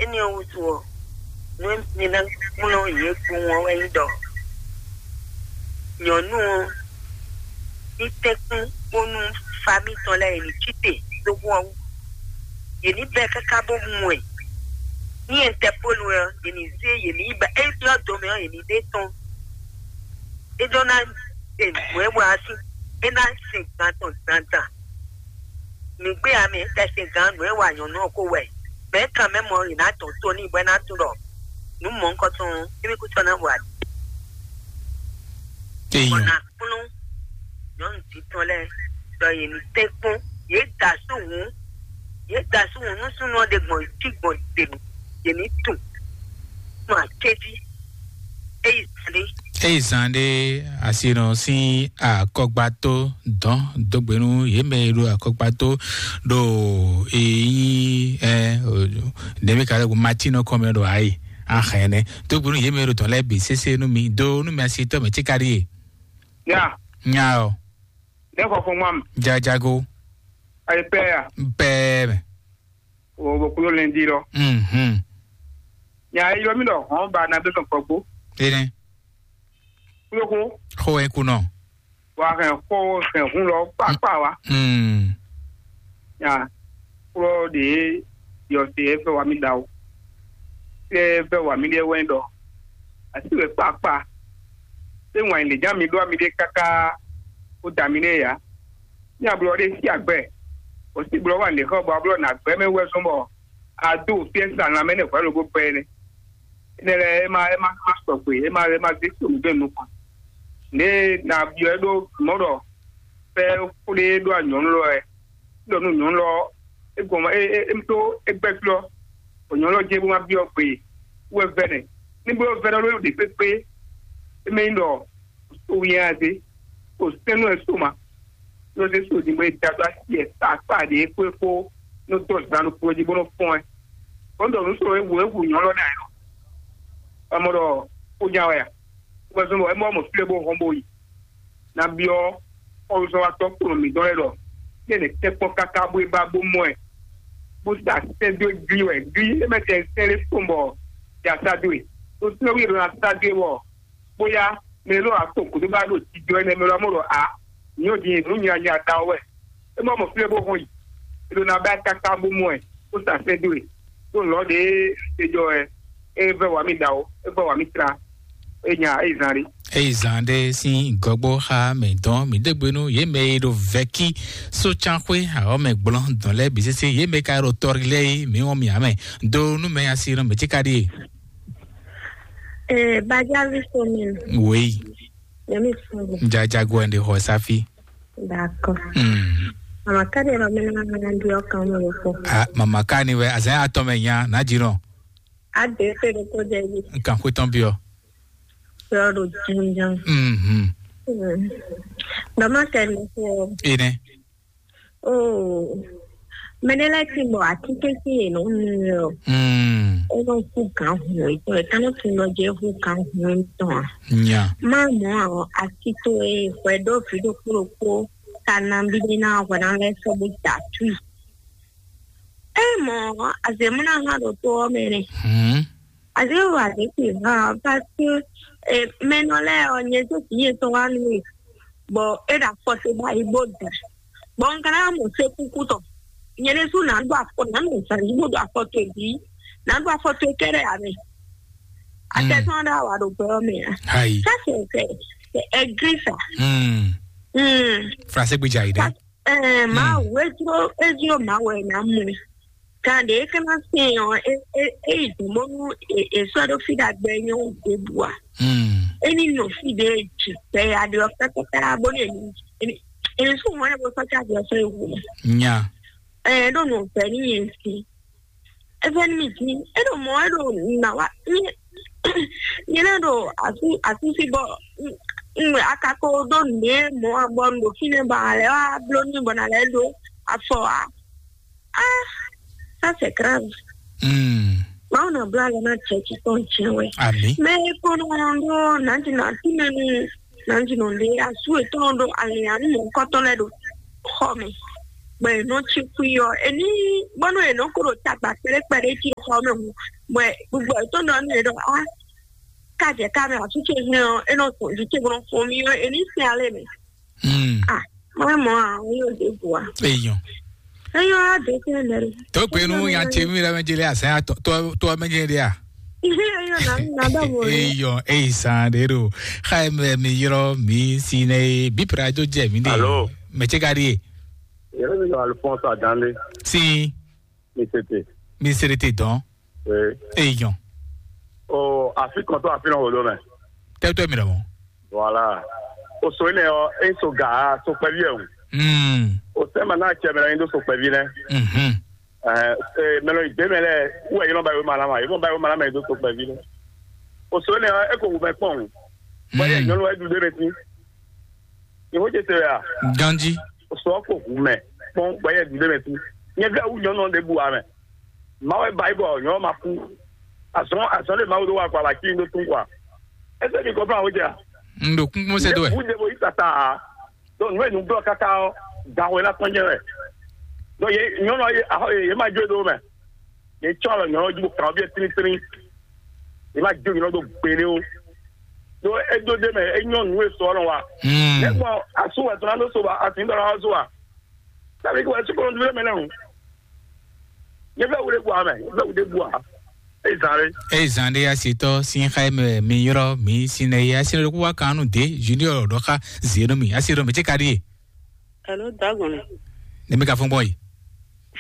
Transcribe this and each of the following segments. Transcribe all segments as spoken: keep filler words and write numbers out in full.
Énɛ́ ɔ́ wútu ɔ́, nú mi ná kplɔ́n yě kpowun ɔ́ wɛ nyí ɖɔ nyɔ̌nu ɔ́ ní tɛ́nkpɔ́n bónú famí tɔn lɛ́ɛ yě ní cí te dó hu ɔ́ wú. Yě ní bɛ́ káká bó mu ɛ. Ní Ɛntɛpólu ɔ́, yě ní zé yě ní yi ba é byɔ́ do mɛ ɔ́, yě ní ɖe tɔ́n. É ɖó ná ɖe nǔ e wa ɔ́ sín, é ná sin gan tɔn dandan. Mǐ gbé ame kɛ sin gan nǔ e wa nyɔ̌nu ɔ́ ko wɛ. Mɛ̌ kan mɛ mɔ yě ná tɔn tó n'i bɔ é ná tunwun ɖɔ nǔ mɔ̌hunkɔtɔn ɔ́, émí kútɔ ná wa. Bɔ Eyɔn. Ná kplɔ́n nyɔ̌nu jí tɔn lɛ́ɛ ɖɔ yě ní tɛ́nkpɔ́n, yě da asú hǔn, yě da asú hǔn nú súnnu ɔ́ ɖe gbɔn jí gbɔn ɖe mǐ, yě ní tunwun. Nú acéjí, é yi zǎn ɖé. Eyi zan ɖe asinɔ sín akɔgbato dɔn dógbe nú yě mɛ e ɖo akɔgbato ɖo èyí ɛ ɖɛmi ka lɛ matinɔ kɔmɛ ɖo ayi ahɛnɛ dógbe nú yě mɛ e ɖo dɔn lɛ bǐ sese nú mi do nú mi asitɔ mɛ tíka ɖíe. Ya, nya ɔ, ne xɔ fún mam, jajago ayi pɛ ya, bɛɛ mɛ. O bo kudo lɛndi lɔ. Mhm. Nya e ylɔ mi ɖɔ hɔn ba na be sɔn kɔgbo. Ene. Kudo ko. Xo e kunɔ. Wa hɛn xo hɛn hun lɔ kpakpa wa. Mm. Nya kplɔ de yɔ se e fɛ wa mi da o. Se e fɛ wa mi de wɛ ɖɔ. Asi wɛ kpakpa. Se ŋwa yi le jan mi ɖo ami de kaka. O da mi ne ya. Ní ablɔ ɖé sí agbɛ, bɔ sí blɔ wà lě xɔ bɔ ablɔ nà gbɛ mɛ wɛ zɔn bɔ ado fiɛ sa lanmɛ nɛ hwɛ lobo gbɛ nɛ. Énɛ́ lɛ́ɛ é ma é ma ma sɔgbe, é ma é ma zé so nǔgbɛ nukɔn. Ně na byɔ́ é ɖó mɔ̌ ɖɔ fɛ xwlé é ɖó anyɔ̌nu lɔ wɛ. Ɖɔ nú nyɔ̌nu lɔ é gɔn é é é tó é gbɛ́ flɔ́, bɔ nyɔ̌nu lɔ jɛ bó ma byɔ́ gbe wɛ vɛ́nɛ. Ní bló vɛ́nɛ ló ɖe kpékpé, é mɛ nyí ɖɔ so wíyá zé, so sɛ́nú ɛ so ma. Yosef so din bɔ é da dó asi ɛ ta akpa ɖě xwé xó nú dó zan ɖokpó jí bó nɔ́ fɔ́n ɛ. Bó ɖɔ nǔ sɔ́ ɛ wu ɛ wu nyɔ̌lɔ́ ná ɛ nɔ. Amɔ ɖɔ xó nya wɛ a? Bɔ zɔn bɔ é mɔ mɔ fí lɛ́ɛ bó hɔn bó yi. Ná byɔ́ xɔlɔ́zɔ́watɔ́ kplɔ́n mǐtɔn lɛ́ɛ ɖɔ fí ɛnɛ tɛ́nkpɔ́n káká bó é ba bó mɔ ɛ. Bó sa sɛ́ dó gli wɛ gli é mɛ tɛ sɛ́ lé kpɔ́n bɔ ya sá dó e. Ɖó sɛ́ wí ɖo ná sá dó e wɔ bóyá mɛ e ɖo ato kúdó ba ɖo jijɔ ɛnɛ mɛ lɔ mɔ ɖɔ a nyɔ din nǔ nya nya da wɛ. E mɔ mɔ fí lɛ bó hɔn yi. E ɖo na ba káká bó mɔ ɛ bó sa sɛ́ dó e. Bó lɔ ɖe e jɔ ɛ e vɛ wà mí da o, e vɛ wà mí tra. E nya e zan ɖe. Eyi zan ɖe sín gɔgbó xa mɛ dɔn mǐ ɖe gbe nú yě mɛ e ɖo vɛ̌kí sócánxwé awɔ̌ mɛ gblɔ́n dɔn lɛ́ɛ bǐ sésé yě mɛ ka ɖo tɔrí lɛ́ɛ é mǐ wɔn mǐ ǎ mɛ do nú mɛ asi nɔ mɛ tí ka ɖíe. Eh, Bajavi Somin. Oui. Nyami Somin. Jajago and the Hosafi. D'accord. Mm. Mama Kani ro mena na ndi o kan mo ko. Ah, mama Kani we azan atɔ me nya na jiro. A de pe de ko de bi. Nkan ko ton bio. Ro do jin jin. Mhm. Mm. Mama Kani ko. Ine. Oh, mɛnɛ lɛ ti bɔ atike ti yɛ nɔ nu yɔ. Mm. E nɔ hu gan hu etɔn e kanɔ ti nɔ jɛ hu gan hu etɔn a. Nya. Ma mɔ a ɔ ati to e hwɛ ɖo vi ɖokpo ɖokpo ta na bi de na hwɛ na lɛ sɔ bo da tui. E mɔ azemuna ha ɖo to ɔ mɛ nɛ. Mm. Azé wa ɖě xwe hã, parce que eh, mɛnɔ lɛ ɔ nyɛ tó kì í yetɔn wá nú mi, bɔ é ɖo afɔ se ba yi bó da, bɔ n kana mɔ se kúkú tɔ, nyɛ ɖésú nà ɖó afɔ nà mɛ zan yí bó ɖo afɔ to bǐ, nà ɖó afɔ to kɛɖɛ ame. Atɛtɔn ɖo awa ɖo gbɛ ɔ́ mɛ a? Ayi. Ça c'est c'est c'est aigri ça. Mm. Mm. Français gbèjà yìí dɛ. Ɛɛ, Mawu, edzro edzro Mawu wɛ na mu. Kan ɖe e kana sɛn ɔ, e e e yi dun bónú e e sɔ ɖo fi ɖagbe nyɔ ɖebu a? Mm. E ní nɔ fi ɖe dzi gbɛ ya ɖe ɔ pɛpɛpɛ a bónú e ní e ní e ní sún mɔ ne bó sɔ tsa ɖe ɔ sɔ ewu mɛ. Nya. Ɛɛ, ɖo nɔ vɛ ní yɛn si. Eve ní mi dín, é ɖo mɔ̌ é ɖo nǎ wá. Nyɛ lɛ́ ɖo asú asúsí bɔ un akako ɖó nǔɖé mɔ̌ a bɔ un ɖo fínɛ́ bɔ a lɛ́ wá bló n'i bɔ nǎ lɛ́ ɖó afɔ ǎ. Ah, ça c'est grave. Mm. Mawu nɔ bló alɔ ná jɛ titɔn jɛ wɛ. Ami. Mɛ e ko nɔ ɖó nǎjínà tínɛ́ nú nǎjínà ɖé asú etɔn ɖó alǐnyanú mɔ̌hunkɔtɔn lɛ́ɛ ɖo xɔ mɛ. Bɔ è nɔ ci xwi ɔ́, è ní bɔnú è nɔ ko ɖo tagba kpɛɖé kpɛɖé jí xɔ mɛ hǔn, bɔ gbogbo ɛ tó nɔ nú è ɖɔ á ká jɛ ká mɛ àtúntò hɛn ɔ́, é nɔ gbɔn jí cé bó nɔ fɔn mì ɔ́, è ní sɛn alɛ mɛ. Hmm. Ah, mɔ mɔ a, ó yóò dé bu a. Èèyàn. Èèyàn á dé kí ẹ lẹ. Tó pé inú yan tse mí lẹ́mẹ̀jì lé àṣà tó tó tó mẹ́jì lé à. Èèyàn náà ń gbàdọ̀ bọ̀ rẹ̀. Èèyàn èyí sàn dé ro. Xá ẹ mẹ mi yọrọ mi sí ne bí pẹ̀lú àjọ jẹ mí dé. Alo. Mẹ̀tsẹ̀ ká dé. Yẹrẹ mi yọ Alphonse Adande. Sí. Mi tètè. Mi sèrè tè dán. Ee. Èèyàn. O àfikàn tó àfihàn wò ló mẹ. Tẹ́tọ́ mi lọ́wọ́. Voilà. O so ilẹ̀ ɔ e so ga so kpɛvi ɛ o. Hmm. O sɛ ma n'a cɛ mɛ la yin do so kpɛvi nɛ. Mhm. Ɛɛ mɛ lɔ igbe mɛ lɛ wɛ yɔrɔ ba yi ma la ma yɔrɔ ba yi ma la ma yin do so kpɛvi nɛ. O so ilẹ̀ ɔ e ko wù mɛ kpɔn. Bɔn yɛ nyɔnu wɛ du de mɛ ti. Ìwọ jẹ sẹ ya. Ganji. O so ɔ ko wù mɛ kpɔn bɔn yɛ du de mɛ ti. Nyɛ fɛ wu nyɔnu de bu amɛ. Mawu ba yi bɔ nyɔnu ma ku. Azɔn azɔn de Mawu do wa kɔ ala ki do tun kɔ. Ɛsɛ mi kɔ fún àwọn jẹ. N ɖo kúnkún sɛ do ɛ. Wu de bo yi tata. Donc nú enu blɔ kaka ɔ, gaxɔ yẹn na tɔn jẹ wɛ. Donc ye nyɔnu ye ahɔ ye ma jo do mɛ. Ye tsɔ alɔ nyɔnu ji bo kan ɔ bi trin trin. Ye ma jo nyɔnu do gbele o. Donc e do de mɛ e nyɔnu e sɔ nɔ wa. Hmm. Ne gbɔn asu wɛ tɔn na do so ba asin dɔ na wa so wa. Sabe ko wɛ sukɔlɔ dúró mɛ lɛ o. Ye fɛ wule bua mɛ, ye fɛ wule bua. Ezan ɖe. Ezan ɖe asitɔ sin xa mɛ mi yɔrɔ mi sin ne ya sin ɖo wa kanu de junior ɖɔ xa zenu mi asi ɖɔ mi tse ka ɖi ye. Alo dagbɔn. Ne mi ka fɔn gbɔ yi.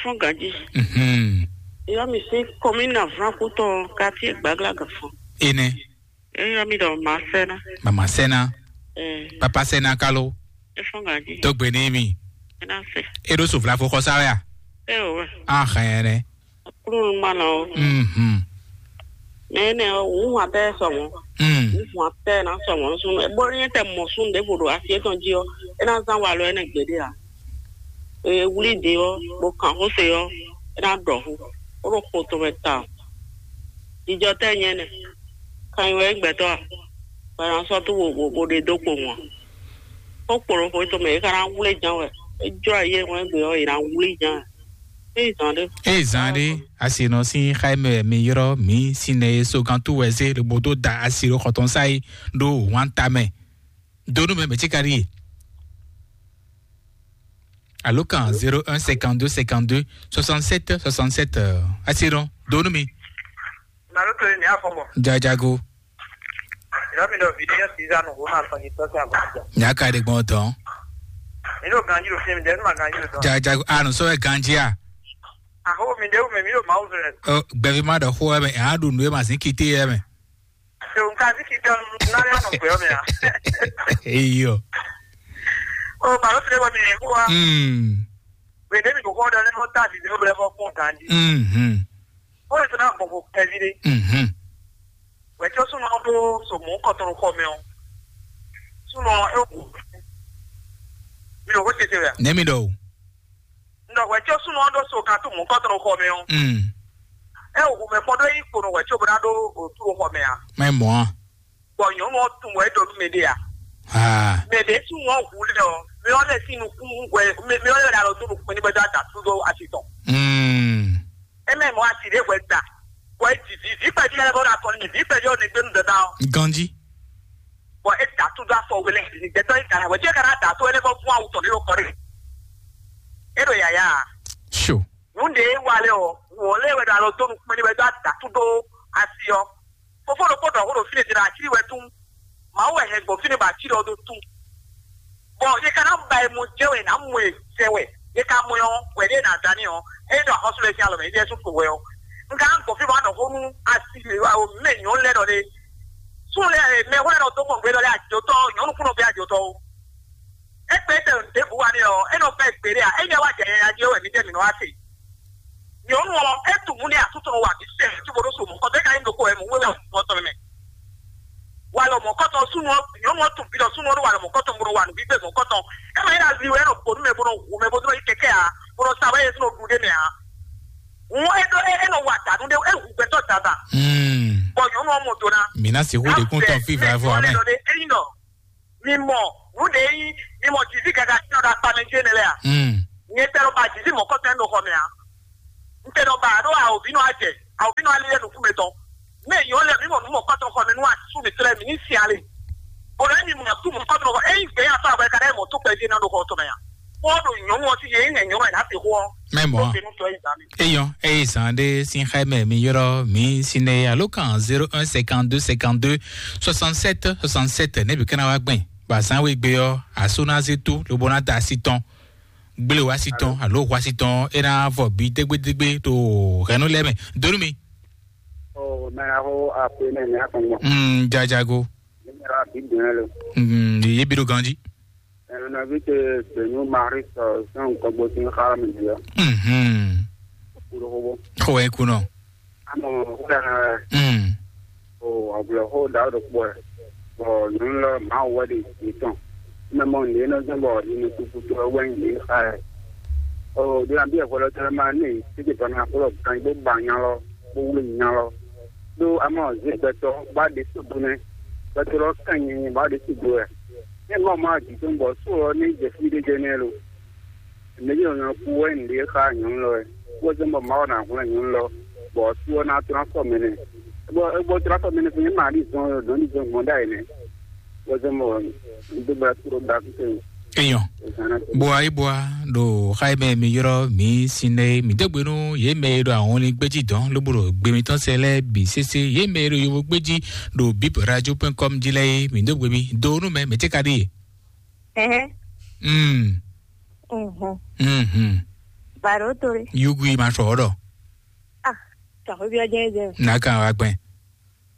Fɔn gaji. Mhm. Yɔ mi si kɔmi na fran kutɔ kati gbagla gafɔ. Ene. Eyɔ mi ɖɔ ma sɛna. Mama sɛna. Eh. Papa sɛna kalo. Efɔn gaji. Tɔgbe ni mi. Ena se. Eɖo sovla fo xɔsa ya. E o wɛ. Ahɛnɛ. Kúrò ma nɔ o. Mhm. Mɛ ne o wun wa tɛ sɔmɔ. Mm. Wun wa tɛ na sɔmɔ sun. E bɔ ni tɛ mɔ sun de bo do asi etɔn ji o. E na zan wa lɔ ene gbede a. E wuli de o, bo kan xo se o. E na dɔ hu. O ɖo ko to mɛ ta. Jijɔ tɛ nyɛ ne. Kan yi wɛ gbɛtɔ a. Bana sɔ to bo bo bo de do kpo mɔ. Ó kplɔ́n xwé tɔn mɛ, é ka ná wlé ján wɛ. É jlɔ́ ayé hwɛ́n gbe ɔ́, è nǎ wlí ján. É yi zǎn ɖé. Ée zǎn ɖé, asi nɔ sín xá mɛ mi yrɔ́ mǐ sín nɛ e sógantú wɛ zé lobo dó da asi ɖo xɔtɔn sá yi ɖó wǎn ta mɛ. Donu mɛ mɛ tí ka ɖíe. Alo kan zéro un cinquante-deux cinquante-deux soixante-sept soixante-sept, asi nɔ donu mi. Màlúù tó ní àfọ̀mọ̀. Jajago. Ìlọ́mìnira òbí ní ọ̀sìn ìzánu òun náà sọ ní tọ́sí àgbàjọ. Nyaka de gbɔn tɔn. Inú ganji ló fi mi dẹ, inú ma ganji ló tán. Jajago, anu sɔ ɛ ganji a. Àhó mi dé wù mí, mi yóò máa wù fẹ́. Ɔ gbɛvi ma dɔ xó ɛ mɛ, a ɖu nu ɛ ma sin kite ɛ mɛ. Ṣé o ń ka sí kí tẹ́ ọ́n náà yà mọ̀ pé ọmọ yà? Eyɔ. O màlúù tó ní wọ́n mi yẹn kó wa. Mm. Gbèdé mi kò kọ́ ọ́ dán lẹ́nu tá a ti dé ó bẹ̀rẹ̀ fọ́ fún ganji. Mhm. Ó lè sọ náà bọ̀ bọ̀ kẹ́vi dé. Mhm. Wɛtí ó súnmọ́ bó so mú kɔtɔn xɔ mɛ ɔ. Súnmọ́ é wò. Mi ò kó tètè rẹ̀. Nɛmi dɔ o. Ndɔ wɛtí ó súnmọ́ ɖó so kan tó mú kɔtɔn xɔ mɛ ɔ. Mm. É wò mɛ kpɔn ɖó yí kpono wɛtí ó bó ná ɖó òtú xɔ mɛ a. Mɛ mɔ a. Bɔ nyɔnu ɔ tun wɛ ɖo nú mɛ ɖe a. Ah. Mɛ ɖe súnmọ́ hu lɛ ɔ. Mi ɔ lɛ sí nukún wɛ mi ɔ lɛ ɖo tó nukún ní bɛ dó àdá tó dó àti tɔn. Mm. Eme mɔ asi ɖe hwɛ da. Bɔ e didi vi kpɛvi lɛ bɔ na kɔni mi vi kpɛvi ɔ ne gbenu dada ɔ. Ganji. Bɔ e da tu do afɔ wele ni gbɛtɔ yi kana wɛ jɛ kana da to ele bɔ fún awu tɔ ne ɖo kɔri. E ɖo yaya. Sure. Nu ɖe e wa lɛ ɔ, wɔ lɛ wɛ ɖo alɔ do nukpɛn ni wɛ do da tu do asi ɔ. Fofo ɖokpó ɖɔ xó ɖo fí ɖe ɖe atsí wɛ tún. Mawu wɛ hɛn gbɔn fí ɖe bɔ atsí ɖɔ ɖó tún. Bɔn yě ká ná ba e mɔ jɛ wɛ ná mɔ e jɛ wɛ yě ká mɔ ɔ wɛ ɖe ná dání ɔ eye ɖo axɔsú lɛ sín alɔ mɛ yě ɖe sún to wɛ ɔ. Nka gbɔn fí ma ɖɔ xó nú asi awo mɛ nyɔnu lɛ ɖɔ ɖe. Sún lɛ mɛ xó lɛ ɖɔ dó mɔ gbé ɖɔ lɛ adzotɔ nyɔnu kúnɔ gbé adzotɔ o. Egbe tɛ ɖěbǔ wa nɛ ɔ, enɔ fɛ gbeɖé a, enyɛ wa jɛ yɛya jí wɛ mi jɛ mi nɔ wa se. Nyɔnu ɔ, etu mu ne atutɔ wa bi sɛ, tí mo ɖo so mɔ, kɔtɛ ka yin ɖoko wɛ mo wé wɛ mɔ tɔn mɛ. Wa lɔ mɔ kɔtɔ sunu ɔ, nyɔnu ɔ tun bi lɔ sunu ɔ ɖo wa lɔ mɔ kɔtɔ mo ɖo wa nu bi gbɛ mɔ kɔtɔ. Ema yi na li wɛ enɔ kponu mɛ bo nɔ wu mɛ bo nɔ yi kɛkɛ a, bo nɔ sa wɛ yɛ sunu ɖu ɖe mɛ a. Ŋu e ɖo e enɔ wa danu ɖe, e wu gbɛtɔ dada. Hmm. Bɔ nyɔnu ɔ mɔ do na. Mina si hu de kun tɔn fi va fɔ amɛ. Eyin dɔ. Mi mɔ, nu ɖe yi, mi mɔ Jizi gaga tí ɔ́ ɖo akpa mɛ jí énɛ́ lɛ́ɛ a? Mm. Nyɛ tɛ ɖo ba jiji mɔ̌kɔtɔn ɖo xɔ mɛ ǎ. Un tɛ ɖo ba ɖo awǒvínɔ ajɛ, awǒvínɔ alilɛ nukún mɛ tɔn. Mɛ yɔ lɛ mi mɔ nú mɔ̌kɔtɔn xɔ mɛ nú asú mi tlɛ mi ní si ale. Bolo emi mɔ asú mɔ̌kɔtɔn xɔ eyi gbɛ ya fa abɛ ka ɖe mɔ tó kpɛ jɛ na ɖo xɔ tɔn mɛ ya. Kó ɖo nyɔnu ɔsi yɛ nyɛ nyɔnu ɛ na se xɔ. Mɛ mɔ. Ó se nú tɔ yi zan mi. Eyɔn, eye zan ɖe sin xɛ mɛ mi yɔrɔ mi sinɛ alo kan zéro un cinquante-deux cinquante-deux soixante-sept soixante-sept ne bi kana wa gbɛn. Ba zan we gbe ɔ, aso na zé tó lobo na da asi tɔn. Gblé wá sí tɔn alo wá sí tɔn é ná vɔ bí dégbédégbé tó hɛnú lɛ́ mɛ. Donu mi. Ɔ mɛ aho akpe nɛ ní akɔn gbɔn. Mm, jajago. Ní mɛ ra bí dùn ɛ lo. Mm, yé bí ɖo ganji. Ɛnɛnɛvi te gbenu mari sɔ sɔn kɔgbɔ sin xara mi di ɔ. Mhm. Kúrò kóbó. Xɔ ɛ kunɔ. Amɔ wúlò ɛ. Mm. O ablɔxo da ɖo kpɔ ɛ. Bɔ nǔ lɔ Mawu wɛ ɖe yě tɔn. Mɛ mɔ nǔ e nɔ zɔn bɔ yě nɔ tukutu ɛ wɛ nyi yě xa ɛ. O ɖo nabí ɛhwɛ lɔ tɛnɛ ma ní títí bɔ na kplɔ kan bó ba nya lɔ bó wlé nya lɔ. Ɖó amɔ zé gbɛtɔ bá ɖe sódó nɛ. Gbɛtɔ lɔ kan nyi bá ɖe sódó ɛ. Ní mɔ ma jǐ tó bɔ só ɔ ní jɛ fí ɖé jɛ nɛ lo. Mɛ yě nyɔ̌ kú wɛ nǔɖé xá nyɔ̌nu lɔ wɛ. Wɛ zɔ́n bɔ Mawu ná hwlɛ́n nyɔ̌nu lɔ, bɔ sú ɔ́ ná tlán sɔ mɛ nɛ. Bɔ é gbɔ tlán sɔ mɛ nɛ fún yín Mali zɔn nɔ́ ní zɔn gbɔn ɖ'ayǐ nɛ. Wɛ zɔ́n bɔ un dó bla kúrò da kúkú. Eyɔn. Bua yi bua ɖo xa yi mɛ mi yrɔ mi sinɛ mi dó gbe nú yě mɛ e ɖo ahɔnlin gbéjì dɔn lóbó ɖo gbe mitɔn sɛ lɛ́ɛ bǐ sésé yě mɛ e ɖo yovo gbéjì ɖo bib radio point com jí lɛ́ɛ é mi dó gbe mi do nú mɛ mɛ tɛ́ ka ɖíe. Ɛhɛn. Mm. Mhm. Mhm. Baro tore. Yugu yi ma sɔ ɔdɔ. Ah, ka ho bia jɛ jɛ. Na kan wa gbɛn.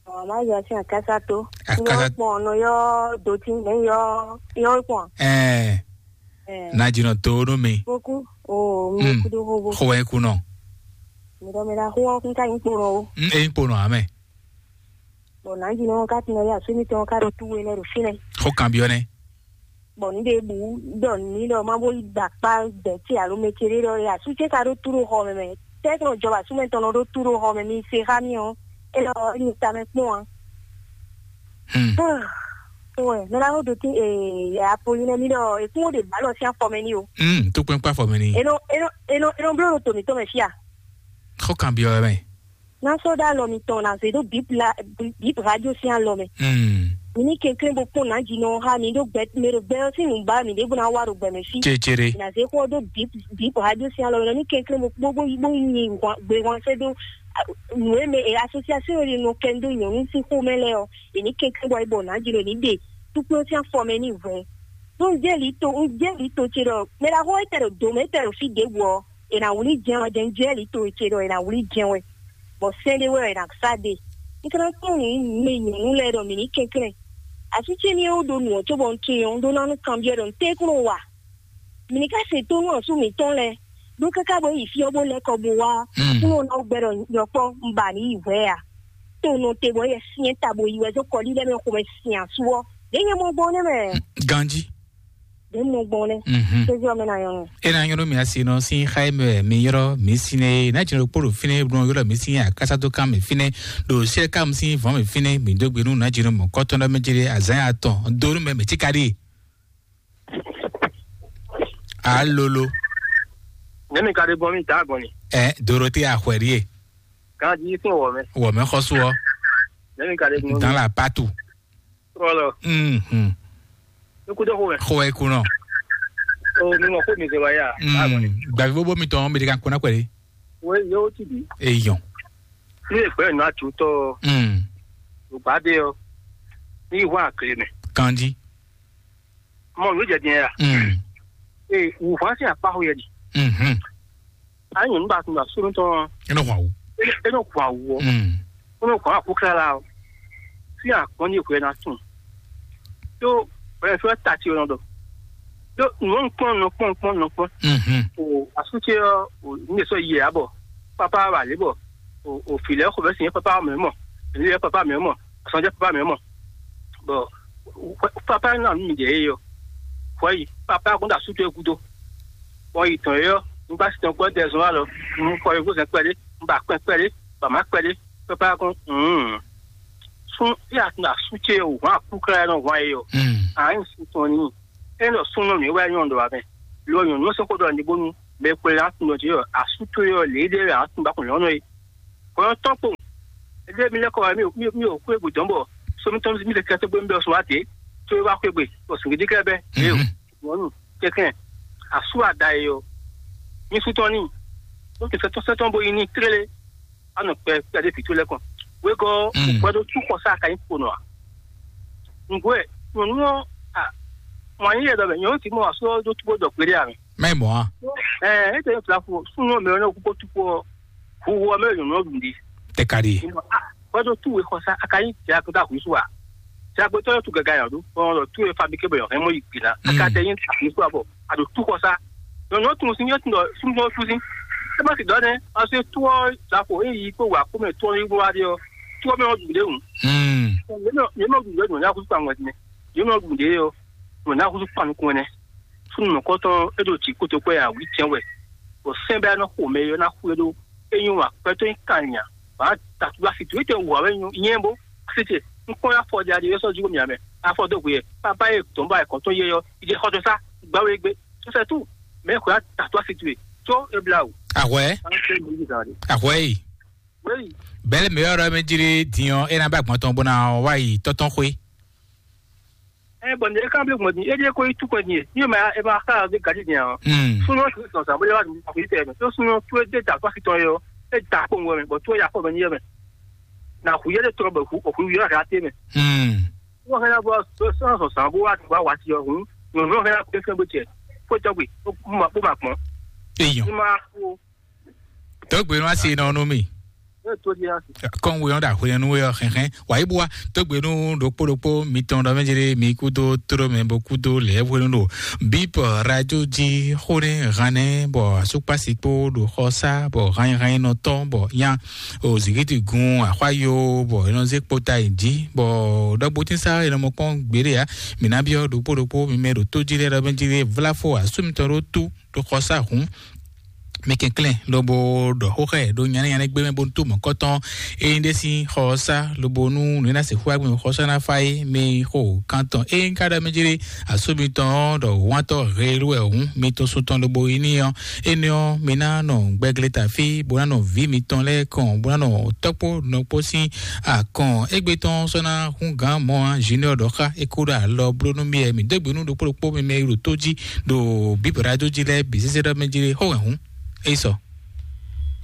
Ɔ ma yɔ sin akasa to. Akasa. Yɔ kpɔn no yɔ doti ne yɔ yɔ kpɔn. Ɛɛ. Ɛɛ. Na jinɔ to no mi. Boku. O mi Mm. Kudo hobo. Ho wɛ kunɔ. Mi dɔ mi la ho kun ka yin kpɔn o. Mm, e kpɔn amɛ. Bɔ nǎjínɔ ɔ́ ka tunwun wɛ asú mitɔn ɔ́ ka ɖo tú we lɛ́ɛ ɖo fínɛ́. Xó kanbyɔ́ nɛ́. Bɔ nǔ ɖěbǔ ɖɔ nǔ n'i ɖɔ má bó yi da akpá gbɛ̌ ce alo mɛ ce ɖé ɖɔ é asú ce ka ɖó tú ɖo xɔ mɛ mɛ. Tɛ́ kplɔ́n jɔ asú mɛ tɔn nɔ ɖó tú ɖo xɔ mɛ mi se xá mì ɔ́, é lɔ é nyi tamɛ kpɔ́n ǎ. Hmm. Wɛ mɛ ná ɖo tí ee apolin nɛ mi ɖɔ èkún ó ɖe bǎlɔ sín afɔ mɛ ní o. Hmm, tó kpɛ́nkpá afɔ mɛ ní. Enɔ enɔ enɔ enɔ bló ɖo tòmítɔn mɛ fíà. Xó kanbyɔ́ wɛ mɛ. Ná sɔ́ ɖó alɔ mitɔn ná zé ɖó bǐb la bǐb radio sín alɔ mɛ. Hmm. Mi ní kɛnklɛ́n bó kpɔ́n nǎjínɔ xá mi ɖó gbɛ mi ɖo gbɛ ɔ́ sín nǔbá mi ɖěbǔ ná wá ɖo gbɛ mɛ fí. Cécéré. Ná zé xó ɔ́ ɖó bǐb bǐb radio sín alɔ mɛ ní kɛnklɛ́n bó bó bó bó nyi gbé hwan sɛ́ dó nǔ e mɛ e asosiasɔn e nɔ kɛ dó nyɔ̌nu sín xomɛ lɛ́ɛ ɔ́, è ní kɛnklɛ́n bɔ é bɔ nǎjínɔ ní ɖe túkplɔ́n sín afɔ mɛ ní hwɛ. Ɖó un jɛ lǐ to un jɛ lǐ to ce ɖɔ mɛ ɖaxó e tɛ ɖo do mɛ e tɛ ɖo fí ɖěbǔ ɔ́, è nǎ wlí jɛ́n wɛ jɛ́n jɛ lǐ to ce ɖɔ è nǎ wlí jɛ́n wɛ. Bɔ sɛ́n ɖé wɛ è nǎ sá ɖe. Un ka ná kpɔ́n nǔ mɛ nyɔ̌nu lɛ́ɛ ɖɔ mǐ ní kɛnklɛ́n. Asú ce ní é wú ɖó nǔ ɔ́ cóbɔ un tunwun ɔ́, un ɖó ná nú kanbyɔ́ ɖɔ un tɛ́ kún nɔ wa. Mǐ ní ka se tónú asú mǐtɔn lɛ́ɛ ɖó káká bɔ é yi fí ɔ́ bó lɛ́ kɔ bó wá. Hmm. Kún nɔ ná gbɛ ɖɔ yɔkpɔ́ un ba nǐ yi hwɛ̌ a. Tó nɔ te bɔ é yɛ syɛ́n ta bó yi wɛ dó kɔlí lɛ́ɛ mɛ xomɛ sin asú ɔ́. Ɖě nyɛ mɔ gbɔn nɛ́ mɛ. Ganjí. Ɖě mɔ gbɔn nɛ́. Mhm. Kézí ɔ́ mɛ ná nyɔ́ nɔ. E na nyɔ́ nɔ mi asi nɔ sín xá e mɛ mi yrɔ mi sín é ná jɛ ɖokpó ɖo fínɛ́ ɖo yrɔ mi sín akásá dó kán mi fínɛ́ ɖo sɛ́ká mi sín vɔ̌n mi fínɛ́ mi dó gbe nú ná jɛ nɔ mɔ̌kɔ́tɔ́ ná mɛ jɛ azán atɔn dó nú mɛ mɛ tíká ɖíe. Alolo. Nɛmi ka ɖe gbɔn mi da gbɔn ni. Ɛ Dorothée Axwɛrie. Ganji sin wɔ mɛ. Wɔ mɛ xɔsu ɔ. Nɛmi ka ɖe gbɔn mi. Dans la partout. Trɔlɔ. Mhm. Nukudo xo mɛ. Xo ɛ kunɔ. O mi mɔ ko mi zɛ wa ya. Mm. Gbavi bobo mi tɔn mi de kan kuna kwɛli. We yo ti bi. Eyɔn. Ni e gbɛ nu atu tɔ. Mm. O ba de o. Ni wa kle mɛ. Kandi. Mɔ nu jɛ diɛ ya. Mm. E wu fa se apa ho yɛ di. Mhm. A nyɔnu ba tun ba sunu tɔn. E nɔ hwa wu. E nɔ hwa wu. Mm. E nɔ hwa ku kla la o. Fi a kɔn ni hwe na tun. Tó bɛn fɛ ta ti o nɔ dɔ. Tó nɔ kpɔn nɔ kpɔn kpɔn nɔ kpɔn. Mhm. O asu ce ɔ o ne sɔ yɛ abɔ. Papa ba le bɔ. O o fi lɛ xɔ bɛ sin papa mɛ mɔ. Ni lɛ papa mɛ mɔ. Sɔnjɛ papa mɛ mɔ. Bɔ papa na mi jɛ ye yɔ. Fɔ yi papa kun da su to gudo. Bɔ yi tɔn yɔ. N gba si tɔn gbɔ dɛ zɔn alɔ. N kɔ yi gbɔsɛ kpɛde. N ba kpɛ kpɛde. Ba ma kpɛde. Papa kun. Mm. Sun ya na su ce o wa ku kra no wa ye yɔ. Mm. An su tɔn ni. E no sun no mi wa yon do wa mɛ. Lo yon no se ko do ni bonu. Mɛ xwe la tun nɔ jí ɔ, asú towe ɔ, lě ɖe wɛ a tun ba kun lɔnɔ e. Kɔyɔ tɔn kpo. Ede mi lɛ kɔ wa mi mi mi o kwe bu dɔn bɔ. So mi tɔn mi le kɛtɛ gbe mi bɛ so wa te. To wa kwe gbe. O sungidi kɛ bɛ. E o. Wɔnu. Kɛkɛ. Asu ada ye ɔ. Mi su tɔn ni. O ti sɛtɔn sɛtɔn bo yi ni tlele. Anɔ kpɛ kpɛ de pi to lɛ kɔn. Wegɔ. Kpɛ do tu kɔ sa ka yi kpo nɔ a. Ngwe. Nyɔnu ɔ. A. Mɔ anyi yɛ dɔ bɛ nyɔnu ti mɔ asu ɔ do tu bo dɔ kpe de a mi. Mɛ mɔ a. Ɛɛ, e tɛ fila fo sunnu mɛ ne ko tu ko huhu mɛ yɔnɔ dun di. Tɛ ka di. Kɔjɔ tu we xɔsa a ka yi tɛ a ko da hu su a. Tɛ a gbɛtɔ yɔ tu gaga yɔ do ɔ tu we fabrike bɛ yɔ hɛn mo yi gbina a ka tɛ yi ta hu su a bɔ a do tu xɔsa. Yɔnɔ tun si yɔ tun dɔ sunnu tu si. E ma si dɔ ne a se tu ɔ da ko e yi ko wa ko mɛ tu ɔ yi bo wa de ɔ tu ɔ mɛ ɔ dun de ŋu. Hmm. Yɔnɔ dun de ŋu ya ko su a ŋwɛ ne. Yɔnɔ dun de ɔ ŋwɛ na ko su kpa nukun ne. Súnnu mɔ̌kɔtɔn e ɖo jǐ kpódó kwɛ ǎ, wǐ jɛ́n wɛ, bɔ sɛ́n bɛ́ ná xo mɛ e ná xwé ɖó. É nyí wǎ, gbɛtɔ́ nyí kan nya, bǎ tatúgbá fi dǔ é tɛ wǎ wɛ nyí bó. Sitě, un kpɔ́n afɔ ɖe aɖe é sɔ́ jí mì amɛ, afɔ dó hwe yɛ, bábá e dɔ̌n bá ẹ̀kọ́ tó yɛ yɔ, ìdí xɔjɔ sá, gbá wé gbé, tó sɛ tú, mɛ xwé tatúgbá fi dǔ é, tó é blá wǔ. Ahwɛ, ahwɛ yi. Wéyi. Bɛlɛ mi yɔrɔ mi jiri diɔ, e na bɛ gbɔn tɔn bona wa yi tɔtɔn xwe. Ɛ bɔn ne kan bi gbɔn din e de ko yi tu kɔn din ye ni ma e ma ka de gadi din a. Hmm. Suno ti sɔn sa bóyá wa dun ko yi tɛ mɛ to suno tu e de da ko si tɔn ye o e da ko ŋgɔ mɛ bɔ tu e ya ko mɛ ni ye mɛ. Na hu ye de tɔrɔ bɛ hu o hu yɔ ka te mɛ. Hmm. Wo hɛn na bɔ so sɔn sɔn sa bo wa dun wa wa ti yɔ hun. Nyɔnu hɛn na ko fɛn bo cɛ ko tɔgbe ko ma ko ma kpɔn. Eyɔn. Ni ma ko. Tɔgbe nu asi nɔ nu mi. Kɔn we ɔn da hwenu we ɔ xɛxɛ wa yi bua. Tɔgbe nu ɖokpó ɖokpó mitɔn ɖɔ mɛ jere mi kudo toro mɛ bo kudo lɛ hwenu ɖo bip radio ji xone hane bɔ asukpasi kpo ɖo xɔsa bɔ hanyihanyinɔtɔ bɔ nya o zikiti gun axwayo bɔ enɔ ze kpota yi ji bɔ ɖɔgbotin sa enɔ mɔ kpɔn gbeɖe ya. Mina biɔ ɖokpó ɖokpó mi mɛ ɖo to ji lɛ ɖɔ mɛ jere vlafo asu mitɔn ɖo tu ɖo xɔsa hun. Mi kɛnklɛn lobo ɖɔ xóxɛ ɖo nyanɛnyanɛ gbé mɛ bónú tó mɔ̌kɔtɔn. Ényí ɖé sín xɔsá lobo nú nǔ e ná sixú wá gbɔn xɔsá ná fá é mi xo kantɔn. Ényí ka ɖɔ mɛ jlé asú mitɔn ɔ́ ɖɔ wántɔ́ helu wɛ hǔn mi tɔn sun tɔn lobo yi ní ɔ́, énɛ́ ɔ́ mi ná nɔ gbɛgleta fí bó ná nɔ vǐ mitɔn lɛ́ɛ kɔn bó ná nɔ tɔ́kpó nɔkpó sín akɔn. Égbé tɔn sɔ́ ná hún gǎn mɔ̌ ǎ. Junior ɖɔ xá é kó ɖo alɔ bló nú mi wɛ mi dó gbe nú ɖokpó ɖokpó mi mɛ e ɖo tó jí ɖo bǐbɛ̌ ɖó jí lɛ́ɛ bǐ sésé ɖɔ mɛ jí lé xó wɛ hǔn é yi sɔ.